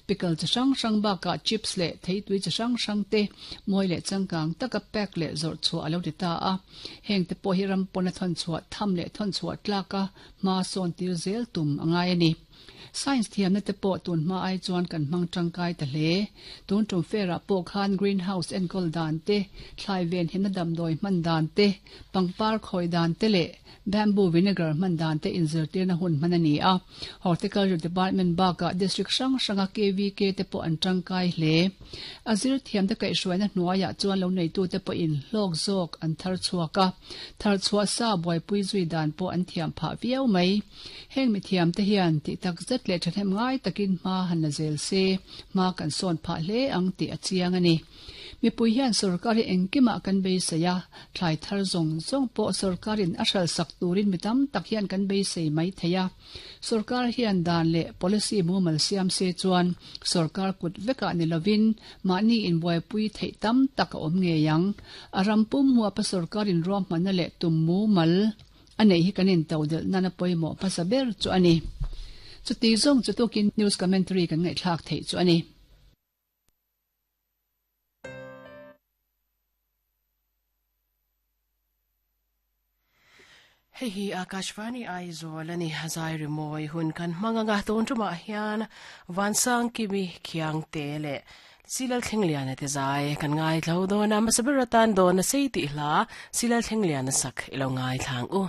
Pickle chi hrang hrang bakah chips leh theitui chi hrang hrang te mawi leh changkang taka pack leh zawrh chhuah a lo ti ta a. Heng te pawh hi ram pawna thawn chhuah tham leh thawn chhuah tlaka hma sawn tir zel tum a ngai a ni. Science thiamna te pawh tun hma ai chuan kan hmang tangkai ta hle. Tun tum fair ah pawh khan green house enkawl dan te, thlai ven himna damdawi hman dan te, pangpar khawi dan te leh bamboo vinegar hman dan te inzirtirna hun hman a ni a. Horticulture Department bakah District hrang hranga KVK te pawh an tangkai hle. A zir thiamte kaihhruaina hnuaiah chuan lo neitute pawhin hlawk zawk an thar chhuak a, thar chhuah sa buaipui zui dan pawh an thiam phah viau mai. Heng mithiamte hian tih tak zet leh thahnem ngai takin hma han la zel se, hma kan sawn phah hle ang tih a chiang a ni. Mipui hian sorkar hi engkimah kan beisei a, thlai thar zawng zawng pawh sorkarin a hralhsak turin mi tam tak hian kan beisei mai thei a. Sorkar hian dan leh policy mumal siam se chuan sorkar kut vekah ni lovin mahni inbuaipui theih tam tak a awm ngei ang. A ram pum huapa sorkarin ruahmanna leh tum mumal a neih hi kan intodelh nana pawimawh hmasa ber chu a ni. Chuti zawng chu tukin news commentary kan ngaihthlak theih chu a ni. Hei hi Akashvani Aizawl a ni, zai rimawi hun kan hmang anga tun tumah hian Vansangkimi Khiangte leh Silal Thlengliana te zai kan ngaithlo dawn a, hmasa ber atan dawn a sei tih hla Silal Thlengliana sak i lo ngaithla ang u.